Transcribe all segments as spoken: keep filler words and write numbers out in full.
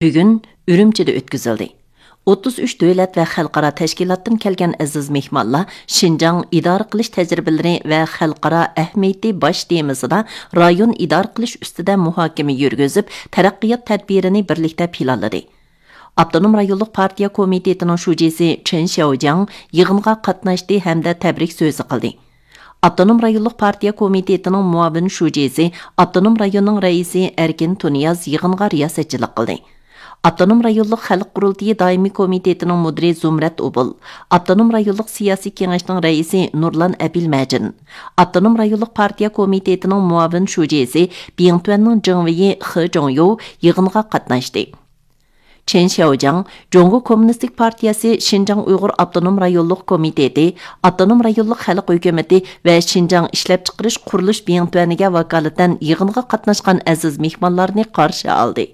بۈگۈن ئۈرۈمچىدە ئۆتكۈزۈلدى. ئوتتۇز ئۈچ دۆلەت ۋە خەلقئارا تەشكىلاتتىن كەلگەن ئەزىز مېھمانلار شىنجاڭ ئىدارە قىلىش تەجرىبىلىرى ۋە خەلقئارا ئەھمىيىتى باش تېمىسىدا رايون ئىدارە قىلىش ئۈستىدە مۇھاكىمە يۈرگۈزۈپ، تەرەققىيات تەدبىرىنى بىرلىكتە پىلانلىدى. ئاپتونوم رايونلۇق پارتىيە كومىتېتىنىڭ شۇجىسى چېن شياۋجياڭ يىغىنغا قاتناشتى ھەمدە تەبرىك سۆزى قىلدى. ئاپتونوم رايونلۇق پارتىيە كومىتېتىنىڭ مۇئاۋىن شۇجىسى، ئاپتونوم رايوننىڭ رەئىسى ئەركىن تۇنىياز يىغىنغا رىياسەتچىلىك قىلدى. ئاپتونوم رايونلۇق خەلق قۇرۇلتىيى دائىمىي كومىتېتىنىڭ مۇدىرى زۇمرەت ئوبۇل، ئاپتونوم رايونلۇق سىياسىي كېڭەشنىڭ رەئىسى نۇرلان ئەبىلمەجىن، ئاپتونوم رايونلۇق پارتىيە كومىتېتىنىڭ مۇئاۋىن شۇجىسى، بىڭتۈەننىڭ جېڭۋېيى خې جوڭيو يىغىنغا قاتناشتى. چېن شياۋجياڭ جۇڭگو كوممۇنىستىك پارتىيەسى شىنجاڭ ئۇيغۇر ئاپتونوم رايونلۇق كومىتېتى، ئاپتونوم رايونلۇق خەلق ھۆكۈمىتى ۋە شىنجاڭ ئىشلەپچىقىرىش قۇرۇلۇش بىڭتۈەنىگە ۋاكالىتەن يىغىنغا قاتناشقان ئەزىز مېھمانلارنى قارشى ئالدى.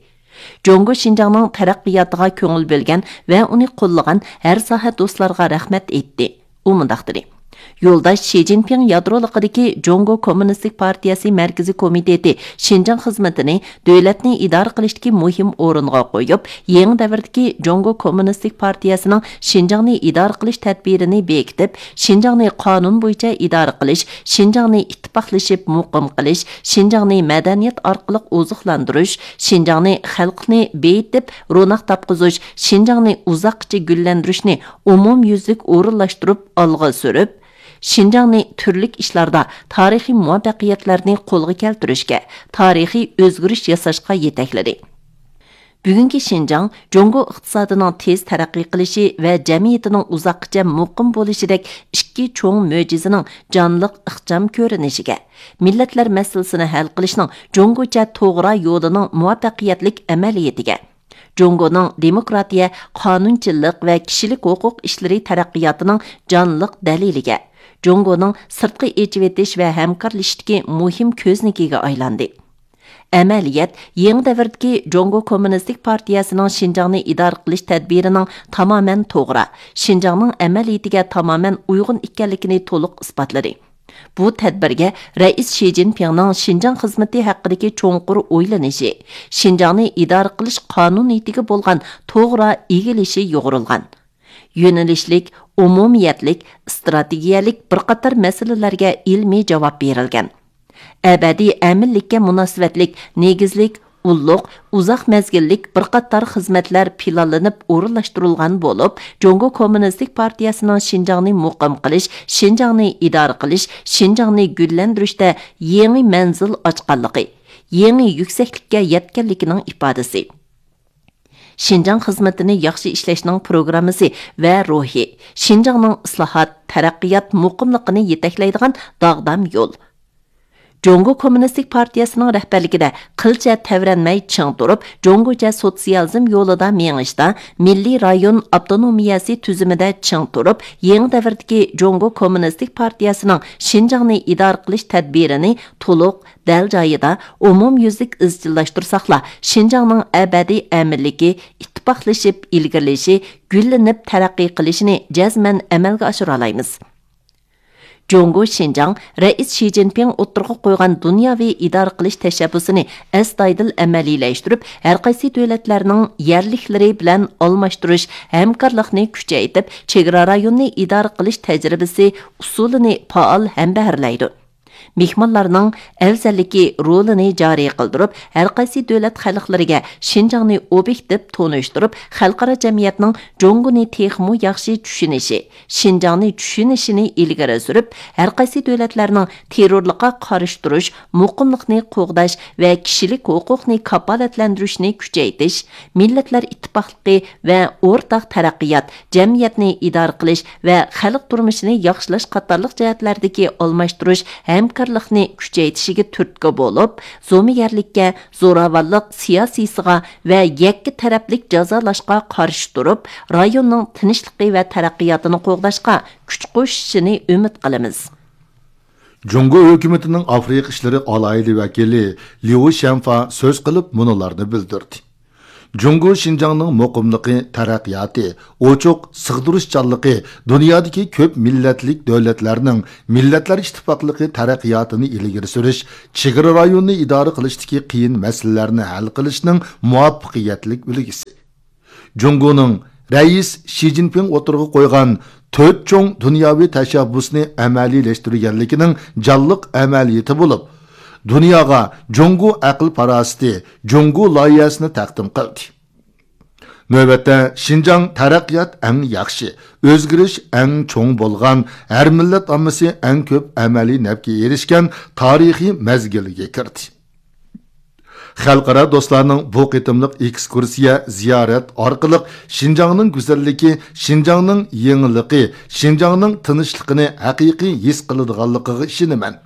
جۇڭگو شىنجاڭنىڭ تەرەققىياتىغا كۆڭۈل بۆلگەن ۋە ئۇنى قوللىغان ھەر ساھە دوستلارغا رەھمەت ئېيتتى. ئۇ مۇنداق دېدى: يولداش شى جىنپىڭ يادرولۇقىدىكى جۇڭگو كوممۇنىستىك پارتىيەسى مەركىزىي كومىتېتى شىنجاڭ خىزمىتىنى دۆلەتنى ئىدارە قىلىشتىكى مۇھىم ئورۇنغا قويۇپ، يېڭى دەۋردىكى جۇڭگو كوممۇنىستىك پارتىيەسىنىڭ شىنجاڭنى ئىدارە قىلىش تەدبىرىنى بېكىتىپ، شىنجاڭنى قانۇن بويىچە ئىدارە قىلىش، شىنجاڭنى ئىتتىپاقلىشىپ مۇقىم قىلىش، شىنجاڭنى مەدەنىيەت ئارقىلىق ئوزۇقلاندۇرۇش، شىنجاڭنى خەلقنى بېيىتىپ روناق تاپقۇزۇش، شىنجاڭنى ئۇزاققىچە گۈللەندۈرۈشنى ئومۇميۈزلۈك ئورۇنلاشتۇرۇپ ئالغا سۈرۈپ، شىنجاڭنى تۈرلۈك ئىشلاردا تارىخىي مۇۋەپپەقىيەتلەرنى قولغا كەلتۈرۈشكە، تارىخىي ئۆزگىرىش ياساشقا يېتەكلىدى. بۈگۈنكى شىنجاڭ جۇڭگو ئىقتىسادىنىڭ تېز تەرەققىي قىلىشى ۋە جەمئىيىتىنىڭ ئۇزاققىچە مۇقىم بولۇشىدەك ئىككى چوڭ مۆجىزىنىڭ جانلىق ئىخچام كۆرۈنۈشىگە، مىللەتلەر مەسىلىسىنى ھەل قىلىشنىڭ جۇڭگوچە توغرا يولىنىڭ مۇۋەپپەقىيەتلىك ئەمەلىيىتىگە، جۇڭگونىڭ دېموكراتىيە، قانۇنچىلىق ۋە كىشىلىك ھوقۇق ئىشلىرى تەرەققىياتىنىڭ جانلىق دەلىلىگە، جۇڭگونىڭ سىرتقا ئېچىۋېتىش ۋە ھەمكارلىشىشتىكى مۇھىم كۆزنىكىگە ئايلاندى. ئەمەلىيەت يېڭى دەۋردىكى جۇڭگو كوممۇنىستىك پارتىيەسىنىڭ شىنجاڭنى ئىدارە قىلىش تەدبىرىنىڭ تامامەن توغرا، شىنجاڭنىڭ ئەمەلىيىتىگە تامامەن ئۇيغۇن ئىكەنلىكىنى تولۇق ئىسپاتلىدى. بۇ تەدبىرگە رەئىس شى جىنپىڭنىڭ شىنجاڭ خىزمىتى ھەققىدىكى چوڭقۇر ئويلىنىشى، شىنجاڭنى ئىدارە قىلىش قانۇنىيىتىگە بولغان توغرا ئىگىلىشى يۇغۇرۇلغان. يۆنىلىشلىك، ئومۇمىيەتلىك، ئىستراتېگىيەلىك بىر قاتار مەسىلىلەرگە ئىلمىي جاۋاب بېرىلگەن. ئەبەدىي ئەمىنلىككە مۇناسىۋەتلىك نېگىزلىك، ئۇللۇق، ئۇزاق مەزگىللىك بىر قاتار خىزمەتلەر پىلانلىنىپ ئورۇنلاشتۇرۇلغان بولۇپ، جۇڭگو كوممۇنىستىك پارتىيەسىنىڭ شىنجاڭنى مۇقىم قىلىش، شىنجاڭنى ئىدارە قىلىش، شىنجاڭنى گۈللەندۈرۈشتە يېڭى مەنزىل ئاچقانلىقى، يېڭى يۈكسەكلىككە يەتكەنلىكىنىڭ ئىپادىسى. شىنجاڭ خىزمىتىنى ياخشى ئىشلەشنىڭ پروگراممىسى ۋە روھى، شىنجاڭنىڭ ئىسلاھات، تەرەققىيات، مۇقىملىقىنى يېتەكلەيدىغان داغدام يول. جۇڭگو كوممۇنىستىك پارتىيەسىنىڭ رەھبەرلىكىدە قىلچە تەۋرەنمەي چىڭ تۇرۇپ، جۇڭگوچە سوتسىيالىزم يولىدا مېڭىشتا، مىللىي رايون ئاپتونومىيەسى تۈزۈمىدە چىڭ تۇرۇپ، يېڭى دەۋردىكى جۇڭگو كوممۇنىستىك پارتىيەسىنىڭ شىنجاڭنى ئىدارە قىلىش تەدبىرىنى تولۇق، دەل جايىدا، ئومۇميۈزلۈك ئىزچىللاشتۇرساقلا، شىنجاڭنىڭ ئەبەدىي ئەمىنلىكى، ئىتتىپاقلىشىپ ئىلگىرىلىشى، گۈللىنىپ تەرەققىي قىلىشىنى جەزمەن ئەمەلگە ئاشۇرالايمىز. جۇڭگو شىنجاڭ رەئىس شى جىنپىڭ ئوتتۇرىغا قويغان دۇنياۋى ئىدارە قىلىش تەشەببۇسىنى ئەستايىدىل ئەمەلىيلەشتۈرۈپ، ھەرقايسى دۆلەتلەرنىڭ يەرلىكلىرى بىلەن ئالماشتۇرۇش ھەمكارلىقنى كۈچەيتىپ، چېگرا رايونىنى ئىدارە قىلىش تەجرىبىسى، ئۇسۇلىنى پائال ھەمبەھىرلەيدۇ. مېھمانلارنىڭ ئەۋزەللىكى رولىنى جارى قىلدۇرۇپ، ھەرقايسى دۆلەت خەلقلىرىگە شىنجاڭنى ئوبيېكتىپ تونۇشتۇرۇپ، خەلقئارا جەمئىيەتنىڭ جۇڭگونى تېخىمۇ ياخشى چۈشىنىشى، شىنجاڭنى چۈشىنىشىنى ئىلگىرى سۈرۈپ، ھەرقايسى دۆلەتلەرنىڭ تېررورلۇققا قارشى تۇرۇش، مۇقىملىقنى قوغداش ۋە كىشىلىك ھوقۇقنى كاپالەتلەندۈرۈشنى كۈچەيتىش، مىللەتلەر ئىتتىپاقلىقى ۋە ئورتاق تەرەققىيات، جەمئىيەتنى ئىدارە قىلىش ۋە خەلق تۇرمۇشىنى ياخشىلاش قاتارلىق جەھەتلەردىكى ئالماشتۇرۇش ھەمكارلىقنى كۈچەيتىشىگە تۈرتكە بولۇپ، زومىگەرلىككە، زوراۋانلىق سىياسىيسىغا ۋە يەككە تەرەپلىك جازالاشقا قارشى تۇرۇپ، رايوننىڭ تىنچلىقى ۋە تەرەققىياتىنى قوغداشقا كۈچ قوشۇشىنى ئۈمىد قىلىمىز. جۇڭگو ھۆكۈمىتىنىڭ ئافرىقا ئىشلىرى ئالاھىدە ۋەكىلى ليۇ شيەنفا سۆز قىلىپ مۇنۇلارنى بىلدۈردى. جۇڭگو شىنجاڭنىڭ مۇقىملىقى، تەرەققىياتى، ئوچۇق، سىغدۇرۇشچانلىقى، دۇنيادىكى كۆپ مىللەتلىك دۆلەتلەرنىڭ مىللەتلەر ئىتتىپاقلىقى تەرەققىياتىنى ئىلگىرى سۈرۈش، چېگرا رايونىنى ئىدارە قىلىشتىكى قىيىن مەسىلىلەرنى ھەل قىلىشنىڭ مۇۋەپپەقىيەتلىك ئۈلگىسى. جۇڭگونىڭ رەئىس شى جىنپىڭ ئوتتۇرىغا قويغان تۆت چوڭ دۇنياۋى تەشەببۇسنى ئەمەلىيلەشتۈرگەنلىكىنىڭ جانلىق ئەمەلىيىتى بولۇپ، دۇنياغا جۇڭگو ئەقىل پاراسىتى، جۇڭگو لايىھەسىنى تەقدىم قىلدى. نۆۋەتتە، شىنجاڭ تەرەققىيات ئەڭ ياخشى، ئۆزگىرىش ئەڭ چوڭ بولغان، ھەر مىللەت ئاممىسى ئەڭ كۆپ ئەمەلىي نەپكە ئېرىشكەن تارىخىي مەزگىلگە كىردى. خەلقئارا دوستلارنىڭ بۇ قېتىملىق ئېكسكۇرسىيە، زىيارەت ئارقىلىق شىنجاڭنىڭ گۈزەللىكى، شىنجاڭنىڭ يېڭىلىقى، شىنجاڭنىڭ تىنچلىقىنى ھەقىقىي ھېس قىلىدىغانلىقىغا ئىشىنىمەن.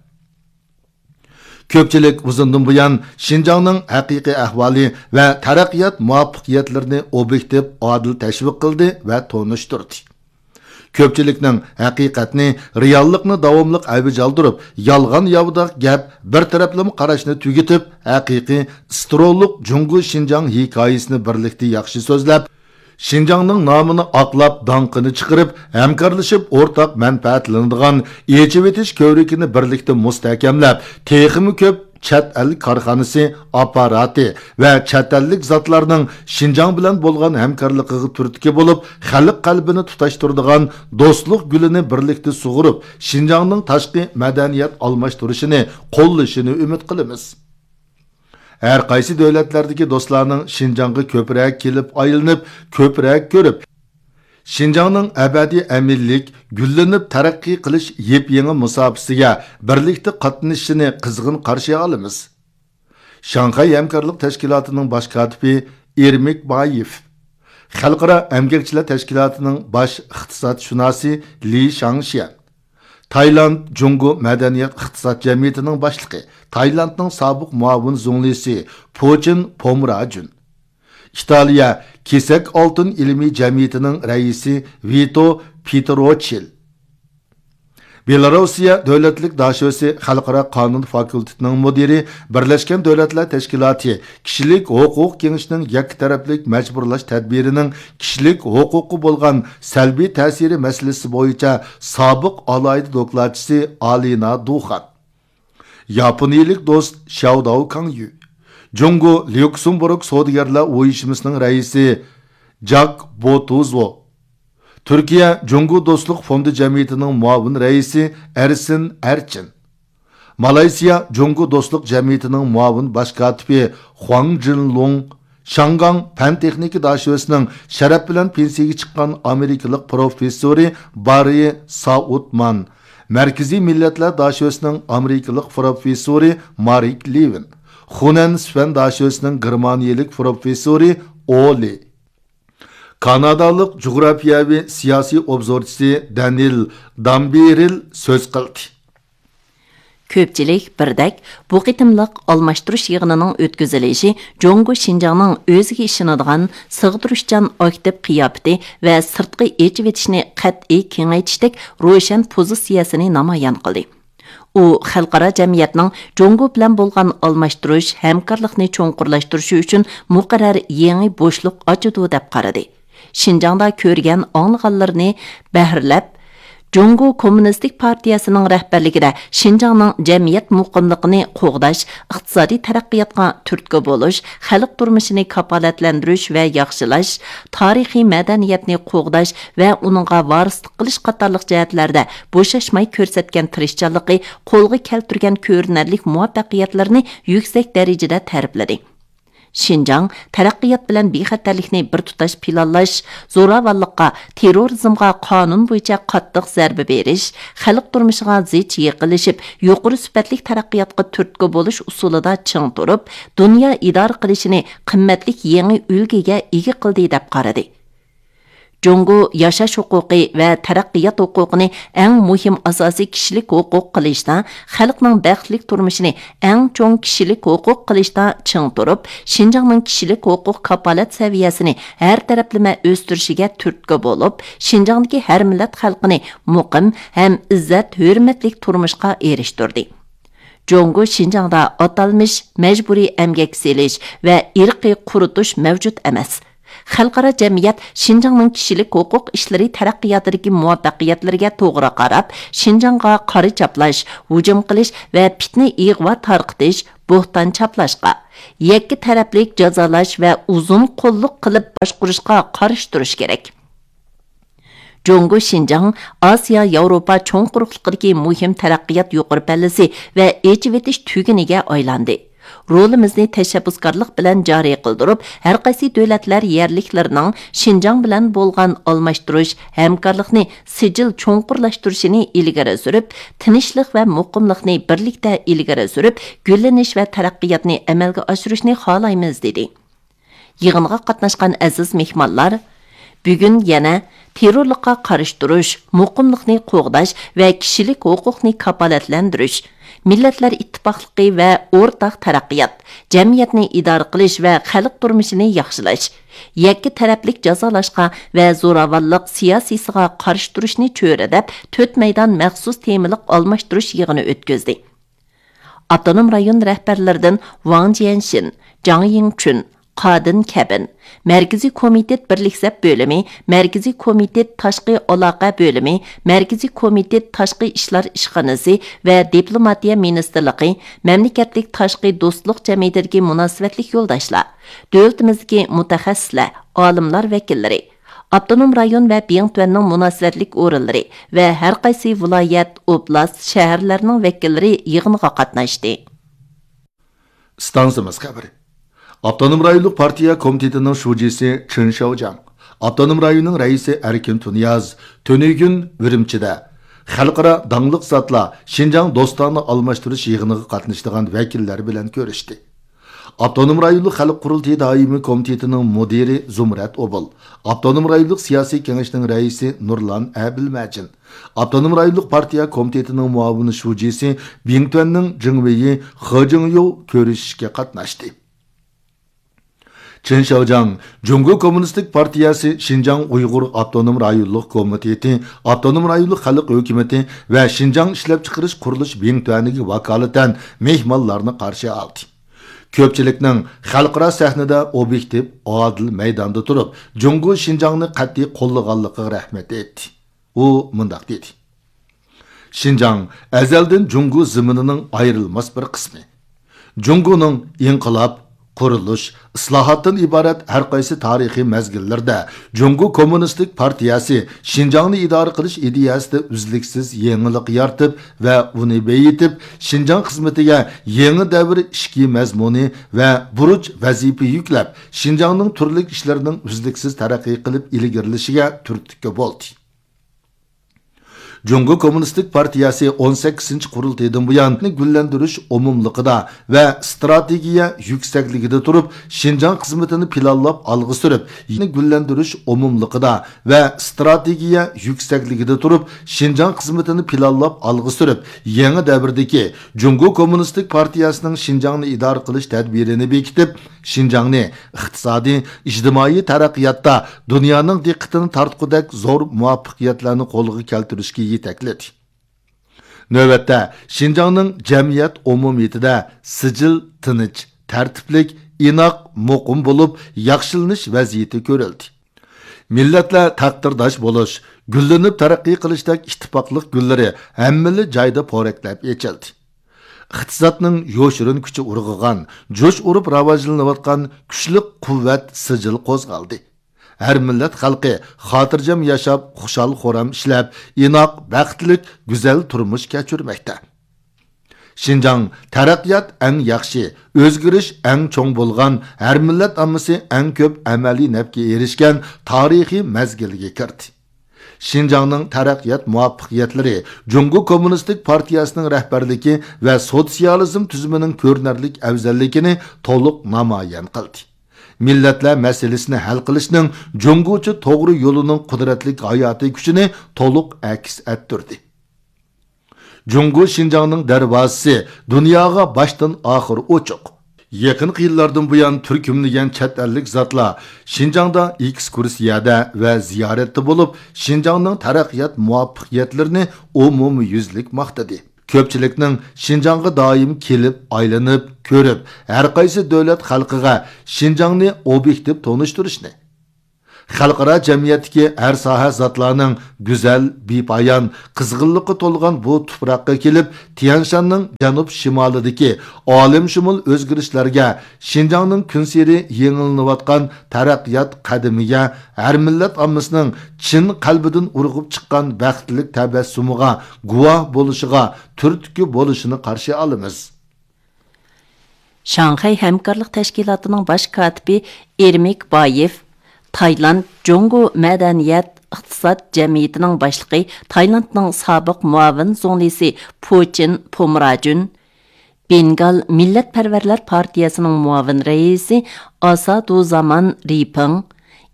كۆپچىلىك ئۇزۇندىن بۇيان شىنجاڭنىڭ ھەقىقىي ئەھۋالى ۋە تەرەققىيات مۇۋەپپەقىيەتلىرىنى ئوبيېكتىپ، ئادىل تەشۋىق قىلدى ۋە تونۇشتۇردى. كۆپچىلىكنىڭ ھەقىقەتنى، رېئاللىقنى داۋاملىق ئەۋج ئالدۇرۇپ، يالغان ياۋىداق گەپ، بىر تەرەپلىمە قاراشنى تۈگىتىپ، ھەقىقىي، سترولۇق جۇڭگو شىنجاڭ ھېكايىسىنى بىرلىكتە ياخشى سۆزلەپ، شىنجاڭنىڭ نامىنى ئاقلاپ، داڭقىنى چىقىرىپ، ھەمكارلىشىپ ئورتاق مەنپەئەتلىنىدىغان ئېچىۋېتىش كۆۋرۈكىنى بىرلىكتە مۇستەھكەملەپ، تېخىمۇ كۆپ چەت ئەل كارخانىسى، ئاپپاراتى ۋە چەت ئەللىك زاتلارنىڭ شىنجاڭ بىلەن بولغان ھەمكارلىقىغا تۈرتكە بولۇپ، خەلق قەلبىنى تۇتاشتۇرىدىغان دوستلۇق گۈلىنى بىرلىكتە سۇغۇرۇپ، شىنجاڭنىڭ تاشقى مەدەنىيەت ئالماشتۇرۇشىنى، قوللىشىنى ئۈمىد قىلىمىز. ھەر قايسى دۆلەتلەردىكى دوستلارنىڭ شىنجاڭغا كۆپرەك كېلىپ ئايلىنىپ، كۆپرەك كۆرۈپ، شىنجاڭنىڭ ئەبەدىي ئەمىنلىك، گۈللىنىپ تەرەققىي قىلىش يېپيېڭى مۇساپىسىگە بىرلىكتە قاتنىشىشىنى قىزغىن قارشى ئالىمىز. شاڭخەي ھەمكارلىق تەشكىلاتىنىڭ باش كاتىپى ئېرمىك بايېف، خەلقئارا ئەمگەكچىلەر تەشكىلاتىنىڭ باش ئىقتىسادشۇناسى لى شاڭشيەن، تايلاند جۇڭگو مەدەنىيەت ئىقتىساد جەمئىيىتىنىڭ باشلىقى، تايلاندنىڭ سابىق مۇئاۋىن زۇڭلىسى پۇچىن پومراجۈن، ئىتالىيە كېسەك ئالتۇن ئىلمىي جەمئىيىتىنىڭ رەئىسى ۋىتو پېتروچىل، بېلاروسىيە دۆلەتلىك داشۆسى خەلقئارا قانۇن فاكۇلتېتىنىڭ مۇدىرى، بىرلەشكەن دۆلەتلەر تەشكىلاتى كىشىلىك ھوقۇق كېڭىشىنىڭ يەككە تەرەپلىك مەجبۇرلاش تەدبىرىنىڭ كىشىلىك ھوقۇققا بولغان سەلبىي تەسىرى مەسىلىسى بويىچە سابىق ئالاھىدە دوكلاتچىسى ئالىنا دۇخان، ياپونىيىلىك دوست شياۋداۋ كاڭيۈ، جۇڭگو ليۇكسېمبۇرگ سودىگەرلەر ئۇيۇشمىسىنىڭ رەئىسى جاك بوتۇزو، تۈركىيە جۇڭگو دوستلۇق فوندى جەمئىيىتىنىڭ مۇئاۋىن رەئىسى ئەرسىن ئەرچىن، مالايسىيا جۇڭگو دوستلۇق جەمئىيىتىنىڭ مۇئاۋىن باش كاتىپى خۇاڭ جىنلۇڭ، شاڭگاڭ پەن تېخنىكا داشۆسىنىڭ شەرەپ بىلەن پېنسىيىگە چىققان ئامېرىكىلىق پروفېسسورى باررى سائۇتمان، مەركىزىي مىللەتلەر داشۆسىنىڭ ئامېرىكىلىق پروفېسسورى مارك لېۋىن، خۇنەن سۈفەن داشۆسىنىڭ گېرمانىيىلىك پروفېسسورى ئولى، كانادالىق جۇغراپىيەۋى سىياسىي ئوبزورچىسى دەنىل دامبېرىل سۆز قىلدى. كۆپچىلىك بىردەك بۇ قېتىملىق ئالماشتۇرۇش يىغىنىنىڭ ئۆتكۈزۈلۈشى جۇڭگو شىنجاڭنىڭ ئۆزىگە ئىشىنىدىغان، سىغدۇرۇشچان ئاكتىپ قىياپىتى ۋە سىرتقا ئېچىۋېتىشنى قەتئىي كېڭەيتىشتەك روشەن پوزىتسىيەسىنى نامايان قىلدى. ئۇ خەلقئارا جەمئىيەتنىڭ جۇڭگو بىلەن بولغان ئالماشتۇرۇش، ھەمكارلىقنى چوڭقۇرلاشتۇرۇشى ئۈچۈن مۇقەررەر يېڭى بوشلۇق ئاچىدۇ، دەپ قارىدى. شىنجاڭدا كۆرگەن، ئاڭلىغانلىرىنى بەھرىلەپ، جۇڭگو كوممۇنىستىك پارتىيەسىنىڭ رەھبەرلىكىدە شىنجاڭنىڭ جەمئىيەت مۇقىملىقىنى قوغداش، ئىقتىسادىي تەرەققىياتقا تۈرتكە بولۇش، خەلق تۇرمۇشىنى كاپالەتلەندۈرۈش ۋە ياخشىلاش، تارىخىي مەدەنىيەتنى قوغداش ۋە ئۇنىڭغا ۋارىسلىق قىلىش قاتارلىق جەھەتلەردە بوشاشماي كۆرسەتكەن تىرىشچانلىقى، قولغا كەلتۈرگەن كۆرۈنەرلىك مۇۋەپپەقىيەتلىرىنى يۈكسەك دەرىجىدە تەرىپلىدى. شىنجاڭ تەرەققىيات بىلەن بىخەتەرلىكنى بىر تۇتاش پىلانلاش، زوراۋانلىققا، تېررورىزمغا قانۇن بويىچە قاتتىق زەربە بېرىش، خەلق تۇرمۇشىغا زىچ يېقىنلىشىپ، يۇقىرى سۈپەتلىك تەرەققىياتقا تۈرتكە بولۇش ئۇسۇلىدا چىڭ تۇرۇپ، دۇنيا ئىدارە قىلىشىنى قىممەتلىك يېڭى ئۈلگىگە ئىگە قىلدى، دەپ قارىدى. جۇڭگو ياشاش ھوقۇقى ۋە تەرەققىيات ھوقۇقىنى ئەڭ مۇھىم ئاساسىي كىشىلىك ھوقۇق قىلىشتا، خەلقنىڭ بەختلىك تۇرمۇشىنى ئەڭ چوڭ كىشىلىك ھوقۇق قىلىشتا چىڭ تۇرۇپ، شىنجاڭنىڭ كىشىلىك ھوقۇق كاپالەت سەۋىيەسىنى ھەر تەرەپلىمە ئۆستۈرۈشىگە تۈرتكە بولۇپ، شىنجاڭدىكى ھەر مىللەت خەلقىنى مۇقىم ھەم ئىززەت، ھۆرمەتلىك تۇرمۇشقا ئېرىشتۈردى. جۇڭگو شىنجاڭدا ئاتالمىش مەجبۇرىي ئەمگەك سېلىش ۋە ئىرقىي قۇرۇتۇش مەۋجۇت ئەمەس. خەلقئارا جەمئىيەت شىنجاڭنىڭ كىشىلىك ھوقۇق ئىشلىرى تەرەققىياتىدىكى مۇۋەپپەقىيەتلىرىگە توغرا قاراپ، شىنجاڭغا قارا چاپلاش، ھۇجۇم قىلىش ۋە پىتنە ئىغۋا تارقىتىش، بوھتان چاپلاشقا، يەككە تەرەپلىك جازالاش ۋە ئۇزۇن قوللۇق قىلىپ باشقۇرۇشقا قارشى تۇرۇش كېرەك. جۇڭگو شىنجاڭ ئاسىيا ياۋروپا چوڭ قۇرۇقلۇقىدىكى مۇھىم تەرەققىيات يۇقىرى پەللىسى ۋە ئېچىۋېتىش تۈگۈنىگە ئايلاندى. رولىمىزنى تەشەببۇسكارلىق بىلەن جارى قىلدۇرۇپ، ھەرقايسى دۆلەتلەر يەرلىكلىرىنىڭ شىنجاڭ بىلەن بولغان ئالماشتۇرۇش، ھەمكارلىقنى سىجىل چوڭقۇرلاشتۇرۇشىنى ئىلگىرى سۈرۈپ، تىنچلىق ۋە مۇقىملىقنى بىرلىكتە ئىلگىرى سۈرۈپ، گۈللىنىش ۋە تەرەققىياتنى ئەمەلگە ئاشۇرۇشنى خالايمىز، دېدى. يىغىنغا قاتناشقان ئەزىز مېھمانلار بۈگۈن يەنە تېررورلۇققا قارشى تۇرۇش، مۇقىملىقنى قوغداش ۋە كىشىلىك ھوقۇقنى كاپالەتلەندۈرۈش، مىللەتلەر ئىتتىپاقلىقى ۋە ئورتاق تەرەققىيات، جەمئىيەتنى ئىدارە قىلىش ۋە خەلق تۇرمۇشىنى ياخشىلاش، يەككە تەرەپلىك جازالاشقا ۋە زوراۋانلىق سىياسىيسىغا قارشى تۇرۇشنى چۆرىدەپ، تۆت مەيدان مەخسۇس تېمىلىق ئالماشتۇرۇش يىغىنى ئۆتكۈزدى. ئاپتونوم رايون رەھبەرلىرىدىن ۋاڭ جيەنشىن، جاڭ يىڭچۈن، قادىن كەبىن، مەركىزىي كومىتېت بىرلىك سەپ بۆلۈمى، مەركىزىي كومىتېت تاشقى ئالاقە بۆلۈمى، مەركىزىي كومىتېت تاشقى ئىشلار ئىشخانىسى ۋە دىپلوماتىيە مىنىستىرلىقى، مەملىكەتلىك تاشقى دوستلۇق جەمئىيىتىدىكى مۇناسىۋەتلىك يولداشلار، دۆلىتىمىزدىكى مۇتەخەسسىسلەر، ئالىملار ۋەكىللىرى، ئاپتونوم رايون ۋە بىڭتۈەننىڭ مۇناسىۋەتلىك ئورۇنلىرى ۋە ھەرقايسى ۋىلايەت، ئوبلاست، شەھەرلەرنىڭ ۋەكىللىرى يىغىنغا قاتناشتى. ئىستانسىمىز خەۋىرى. ئاپتونوم رايونلۇق پارتىيە كومىتېتىنىڭ شۇجىسى چېن شياۋجياڭ، ئاپتونوم رايوننىڭ رەئىسى ئەركىن تۇنىياز تۈنۈگۈن ئۈرۈمچىدە خەلقئارا داڭلىق زاتلار شىنجاڭ دوستانە ئالماشتۇرۇش يىغىنىغا قاتنىشىدىغان ۋەكىللەر بىلەن كۆرۈشتى. ئاپتونوم رايونلۇق خەلق قۇرۇلتىيى دائىمىي كومىتېتىنىڭ مۇدىرى زۇمرەت ئوبۇل، ئاپتونوم رايونلۇق سىياسىي كېڭەشنىڭ رەئىسى نۇرلان ئەبىلمەجىن، ئاپتونوم رايونلۇق پارتىيە كومىتېتىنىڭ مۇئاۋىن شۇجىسى بىڭتۈەننىڭ جىڭۋېيى خې جىڭيۇ كۆرۈشۈشكە قاتناشتى. چېن شياۋجياڭ جۇڭگو كوممۇنىستىك پارتىيەسى شىنجاڭ ئۇيغۇر ئاپتونوم رايونلۇق كومىتېتى، ئاپتونوم رايونلۇق خەلق ھۆكۈمىتى ۋە شىنجاڭ ئىشلەپچىقىرىش قۇرۇلۇش بىڭتۈەنىگە ۋاكالىتەن مېھمانلارنى قارشى ئالدى. كۆپچىلىكنىڭ خەلقئارا سەھنىدە ئوبيېكتىپ، ئادىل مەيداندا تۇرۇپ، جۇڭگو شىنجاڭنى قەتئىي قوللىغانلىقىغا رەھمەت ئېيتتى. ئۇ مۇنداق دېدى: شىنجاڭ ئەزەلدىن جۇڭگو زېمىنىنىڭ ئايرىلماس بىر قىسمى. جۇڭگونىڭ ئىنقىلاب، قۇرۇلۇش، ئىسلاھاتتىن ئىبارەت ھەر قايسى تارىخىي مەزگىللەردە جۇڭگو كوممۇنىستىك پارتىيەسى شىنجاڭنى ئىدارە قىلىش ئىدىيەسىدە ئۈزلۈكسىز يېڭىلىق يارىتىپ ۋە ئۇنى بېيىتىپ، شىنجاڭ خىزمىتىگە يېڭى دەۋر ئىچكى مەزمۇنى ۋە بۇرچ ۋەزىپە يۈكلەپ، شىنجاڭنىڭ تۈرلۈك ئىشلىرىنىڭ ئۈزلۈكسىز تەرەققىي قىلىپ ئىلگىرىلىشىگە تۈرتكە بولدى. جۇڭگو كوممۇنىستىك پارتىيەسى ئون سەككىزىنچى قۇرۇلتىيىدىن بۇيان گۈللەندۈرۈش ئومۇملۇقىدا ۋە ئىستراتېگىيە يۈكسەكلىكىدە تۇرۇپ، شىنجاڭ خىزمىتىنى پىلانلاپ ئالغا سۈرۈپ، گۈللەندۈرۈش ئومۇملۇقىدا ۋە ئىستراتېگىيە يۈكسەكلىكىدە تۇرۇپ، شىنجاڭ خىزمىتىنى پىلانلاپ ئالغا سۈرۈپ، يېڭى دەۋردىكى جۇڭگو كوممۇنىستىك پارتىيەسىنىڭ شىنجاڭنى ئىدارە قىلىش تەدبىرىنى بېكىتىپ، شىنجاڭنى ئىقتىسادىي، ئىجتىمائىي تەرەققىياتتا دۇنيانىڭ دىققىتىنى تارتقۇدەك زور مۇۋەپپەقىيەتلەرنى قولغا كەلتۈرۈشكە يېتەكلىدى. نۆۋەتتە، شىنجاڭنىڭ جەمئىيەت ئومۇمىيىتىدە سىجىل تىنچ، تەرتىپلىك، ئىناق، مۇقىم بولۇپ، ياخشىلىنىش ۋەزىيىتى كۆرۈلدى. مىللەتلەر تەقدىرداش بولۇش، گۈللىنىپ تەرەققىي قىلىشتەك ئىتتىپاقلىق گۈللىرى ھەممىلا جايدا پورەكلەپ ئېچىلدى. ئىقتىسادنىڭ يوشۇرۇن كۈچى ئۇرغۇغان، جۇش ئۇرۇپ راۋاجلىنىۋاتقان كۈچلۈك قۇۋۋەت سىجىل قوزغالدى. ھەر مىللەت خەلقى خاتىرجەم ياشاپ، خۇشال-خۇرام ئىشلەپ، ئىناق، بەختلىك، گۈزەل تۇرمۇش كەچۈرمەكتە. شىنجاڭ تەرەققىيات ئەڭ ياخشى، ئۆزگىرىش ئەڭ چوڭ بولغان، ھەر مىللەت ئاممىسى ئەڭ كۆپ ئەمەلىي نەپكە ئېرىشكەن تارىخىي مەزگىلگە كىردى. شىنجاڭنىڭ تەرەققىيات مۇۋەپپەقىيەتلىرى جۇڭگو كوممۇنىستىك پارتىيەسىنىڭ رەھبەرلىكى ۋە سوتسىيالىزم تۈزۈمىنىڭ كۆرۈنەرلىك ئەۋزەللىكىنى تولۇق نامايان قىلدى. مىللەتلەر مەسىلىسىنى ھەل قىلىشنىڭ جۇڭگوچە توغرا يولىنىڭ قۇدرەتلىك ھاياتىي كۈچىنى تولۇق ئەكس ئەتتۈردى. جۇڭگو شىنجاڭنىڭ دەرۋازىسى دۇنياغا باشتىن ئاخىر ئوچۇق. يېقىنقى يىللاردىن بۇيان تۈركۈملىگەن چەت ئەللىك زاتلار شىنجاڭدا ئېكسكۇرسىيەدە ۋە زىيارەتتە بولۇپ، شىنجاڭنىڭ تەرەققىيات مۇۋەپپەقىيەتلىرىنى ئومۇميۈزلۈك ماختىدى. كۆپچىلىكنىڭ شىنجاڭغا دائىم كېلىپ، ئايلىنىپ، كۆرۈپ، ھەرقايسى دۆلەت خەلقىگە شىنجاڭنى ئوبيېكتىپ تونۇشتۇرۇشنى، خەلقئارا جەمئىيەتتىكى ھەر ساھە زاتلارنىڭ گۈزەل، بىپايان، قىزغىنلىققا تولغان بۇ تۇپراققا كېلىپ، تيەنشاننىڭ جەنۇب-شىمالىدىكى ئالەمشۇمۇل ئۆزگىرىشلەرگە، شىنجاڭنىڭ كۈنسېرى يېڭىلىنىۋاتقان تەرەققىيات قەدىمىگە، ھەر مىللەت ئاممىسىنىڭ چىن قەلبىدىن ئۇرغۇپ چىققان بەختلىك تەبەسسۇمىغا گۇۋاھ بولۇشىغا تۈرتكە بولۇشىنى قارشى ئالىمىز. شاڭخەي ھەمكارلىق تەشكىلاتىنىڭ باش كاتىپى ئېرمىك بايېف، تايلاند جۇڭگو مەدەنىيەت ئىقتىساد جەمئىيىتىنىڭ باشلىقى، تايلاندنىڭ سابىق مۇئاۋىن زۇڭلىسى پۇچىن پومراجۈن، بېنگال مىللەتپەرۋەرلەر پارتىيەسىنىڭ مۇئاۋىن رەئىسى ئاسادۇزامان رىپىڭ،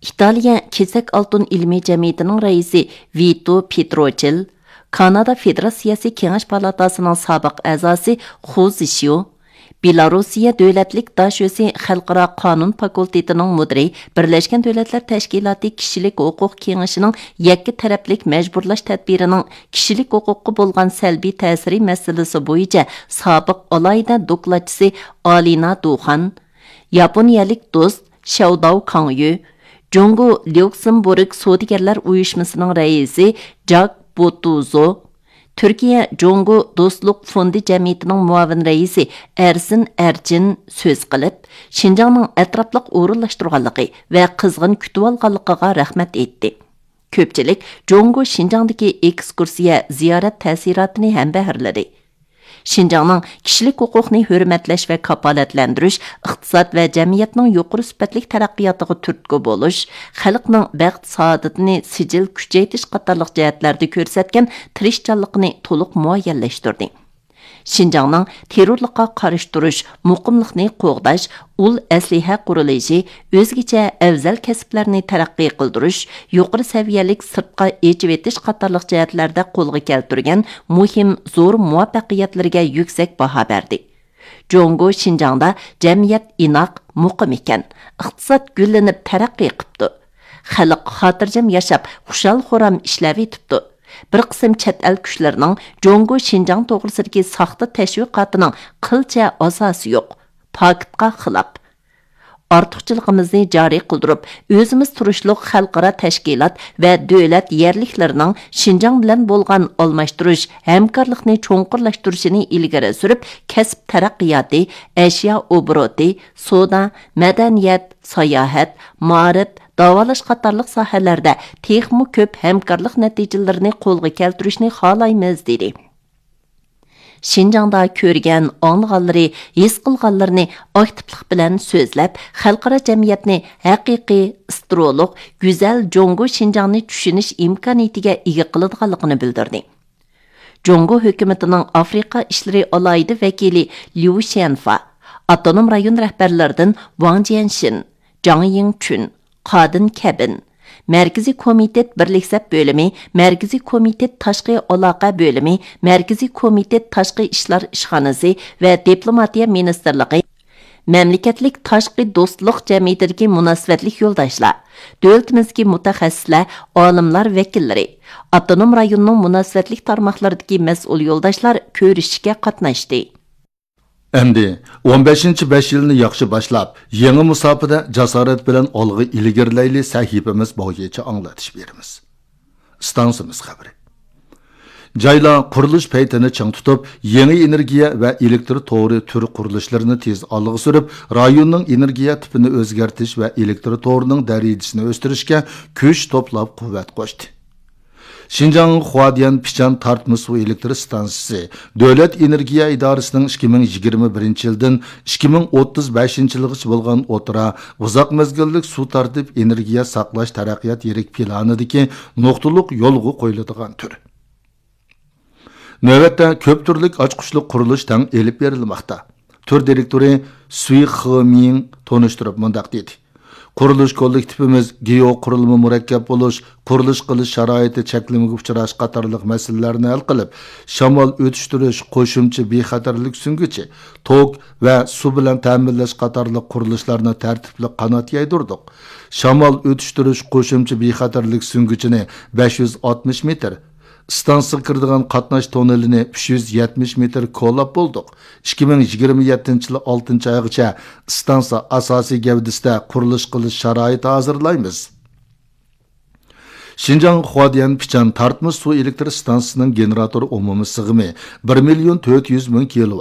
ئىتالىيە كېسەك ئالتۇن ئىلمىي جەمئىيىتىنىڭ رەئىسى ۋىتو پېتروچىل، كانادا فېدېراتسىيەسى كېڭەش پالاتاسىنىڭ سابىق ئەزاسى خۇ زىشيۇ، بېلاروسىيە دۆلەتلىك داشۆسى خەلقئارا قانۇن فاكۇلتېتىنىڭ مۇدىرى، بىرلەشكەن دۆلەتلەر تەشكىلاتى كىشىلىك ھوقۇق كېڭىشىنىڭ يەككە تەرەپلىك مەجبۇرلاش تەدبىرىنىڭ كىشىلىك ھوقۇققا بولغان سەلبىي تەسىرى مەسىلىسى بويىچە سابىق ئالاھىدە دوكلاتچىسى ئالىنا دۇخان، ياپونىيەلىك دوست شياۋداۋ كاڭيۈ، جۇڭگو ليۇكسېمبۇرگ سودىگەرلەر ئۇيۇشمىسىنىڭ رەئىسى جاك بوتۇزو، تۈركىيە جۇڭگو دوستلۇق فوندى جەمئىيىتىنىڭ مۇئاۋىن رەئىسى ئەرسىن ئەرچىن سۆز قىلىپ، شىنجاڭنىڭ ئەتراپلىق ئورۇنلاشتۇرغانلىقى ۋە قىزغىن كۈتۈۋالغانلىقىغا رەھمەت ئېيتتى. كۆپچىلىك جۇڭگو شىنجاڭدىكى ئېكسكۇرسىيە زىيارەت تەسىراتىنى ھەمبەھىرلىدى. شىنجاڭنىڭ كىشىلىك ھوقۇقنى ھۆرمەتلەش ۋە كاپالەتلەندۈرۈش، ئىقتىساد ۋە جەمئىيەتنىڭ يۇقىرى سۈپەتلىك تەرەققىياتىغا تۈرتكە بولۇش، خەلقنىڭ بەخت-سائادىتىنى سىجىل كۈچەيتىش قاتارلىق جەھەتلەردە كۆرسەتكەن تىرىشچانلىقىنى تولۇق مۇئەييەنلەشتۈردى. شىنجاڭنىڭ تېررورلۇققا قارشى تۇرۇش، مۇقىملىقنى قوغداش، ئۇل ئەسلىھە قۇرۇلۇشى، ئۆزگىچە ئەۋزەل كەسىپلەرنى تەرەققىي قىلدۇرۇش، يۇقىرى سەۋىيەلىك سىرتقا ئېچىۋېتىش قاتارلىق جەھەتلەردە قولغا كەلتۈرگەن مۇھىم زور مۇۋەپپەقىيەتلىرىگە يۈكسەك باھا بەردى. جۇڭگو شىنجاڭدا جەمئىيەت ئىناق، مۇقىم ئىكەن، ئىقتىساد گۈللىنىپ تەرەققىي قىپتۇ. خەلق خاتىرجەم ياشاپ، خۇشال-خۇرام ئىشلەۋېتىپتۇ. بىر قىسىم چەت ئەل كۈچلىرىنىڭ جۇڭگو شىنجاڭ توغرىسىدىكى ساختا تەشۋىقاتىنىڭ قىلچە ئاساسى يوق، پاكىتقا خىلاپ. ئارتۇقچىلىقىمىزنى جارى قىلدۇرۇپ، ئۆزىمىز تۇرۇشلۇق خەلقئارا تەشكىلات ۋە دۆلەت يەرلىكلىرىنىڭ شىنجاڭ بىلەن بولغان ئالماشتۇرۇش، ھەمكارلىقنى چوڭقۇرلاشتۇرۇشىنى ئىلگىرى سۈرۈپ، كەسىپ تەرەققىياتى، ئەشيا ئوبوروتى، سودا، مەدەنىيەت، ساياھەت، مائارىپ، داۋالاش قاتارلىق ساھەلەردە تېخىمۇ كۆپ ھەمكارلىق نەتىجىلىرىنى قولغا كەلتۈرۈشنى خالايمىز، دېدى. شىنجاڭدا كۆرگەن، ئاڭلىغانلىرى، ھېس قىلغانلىرىنى ئاكتىپلىق بىلەن سۆزلەپ، خەلقئارا جەمئىيەتنى ھەقىقىي، ئىسترولۇق، گۈزەل جۇڭگو شىنجاڭنى چۈشىنىش ئىمكانىيىتىگە ئىگە قىلىدىغانلىقىنى بىلدۈردى. جۇڭگو ھۆكۈمىتىنىڭ ئافرىقا ئىشلىرى ئالاھىدە ۋەكىلى ليۇ شيەنفا، ئاپتونوم رايون رەھبەرلىرىدىن ۋاڭ جيەنشىن، جاڭ يىڭچۈن، قادىن كەبىن، مەركىزىي كومىتېت بىرلىك سەپ بۆلۈمى، مەركىزىي كومىتېت تاشقى ئالاقە بۆلۈمى، مەركىزىي كومىتېت تاشقى ئىشلار ئىشخانىسى ۋە دىپلوماتىيە مىنىستىرلىقى، مەملىكەتلىك تاشقى دوستلۇق جەمئىيىتىدىكى مۇناسىۋەتلىك يولداشلار، دۆلىتىمىزدىكى مۇتەخەسسىسلەر، ئالىملار ۋەكىللىرى، ئاپتونوم رايوننىڭ مۇناسىۋەتلىك تارماقلىرىدىكى مەسئۇل يولداشلار كۆرۈشۈشكە قاتناشتى. ئەمدى ئون بەشىنچى بەش يىلنى ياخشى باشلاپ، يېڭى مۇساپىدە جاسارەت بىلەن ئالغا ئىلگىرىلەيلى سەھىپىمىز بويىچە ئاڭلىتىش بېرىمىز. ئىستانسىمىز خەۋىرى. جايلار قۇرۇلۇش پەيتىنى چىڭ تۇتۇپ، يېڭى ئېنېرگىيە ۋە ئېلېكتر تورى تۈر قۇرۇلۇشلىرىنى تېز ئالغا سۈرۈپ، رايوننىڭ ئېنېرگىيە تىپىنى ئۆزگەرتىش ۋە ئېلېكتر تورىنىڭ دەرىجىسىنى ئۆستۈرۈشكە كۈچ توپلاپ قۇۋۋەت قوشتى. شىنجاڭ خۇادىيەن پىچان تارتما سۇ ئېلېكتر ئىستانسىسى دۆلەت ئېنېرگىيە ئىدارىسىنىڭ ئىككى مىڭ يىگىرمە بىرىنچى يىلدىن ئىككى مىڭ ئوتتۇز بەشىنچى يىلغىچە بولغان ئوتتۇرا ئۇزاق مەزگىللىك سۇ تارتىپ ئېنېرگىيە ساقلاش تەرەققىيات يىرىك پىلانىدىكى نۇقتىلىق يولغا قويۇلىدىغان تۈر. نۆۋەتتە كۆپ تۈرلۈك ئاچقۇچلۇق قۇرۇلۇش تەڭ ئېلىپ بېرىلماقتا. تۈر دىرېكتورى سۈي خېمىڭ تونۇشتۇرۇپ مۇنداق دېدى: قۇرۇلۇش كوللېكتىپىمىز گېئو قۇرۇلما مۇرەككەپ بولۇش، قۇرۇلۇش قىلىش شارائىتى چەكلىمىگە ئۇچراش قاتارلىق مەسىلىلەرنى ھەل قىلىپ، شامال ئۆتۈشتۈرۈش، قوشۇمچە بىخەتەرلىك سۈڭگۈچى، توك ۋە سۇ بىلەن تەمىنلەش قاتارلىق قۇرۇلۇشلارنى تەرتىپلىك قانات يايدۇردۇق. شامال ئۆتۈشتۈرۈش قوشۇمچە بىخەتەرلىك سۈڭگۈچىنى بەش يۈز ئاتمىش مېتىر، ئىستانسىغا كىرىدىغان قاتناش توننېلىنى ئۈچ يۈز يەتمىش مېتىر كولاپ بولدۇق. ئىككى مىڭ يىگىرمە يەتتىنچى يىل ئالتىنچى ئايغىچە ئىستانسا ئاساسىي گەۋدىسىدە قۇرۇلۇش قىلىش شارائىتى ھازىرلايمىز. شىنجاڭ خۇاديەن پىچان تارتمىش سۇ ئېلېكتر ئىستانسىسىنىڭ گېنېراتور ئومۇمىي سىغىمى بىر مىليون تۆت يۈز مىڭ كىلو.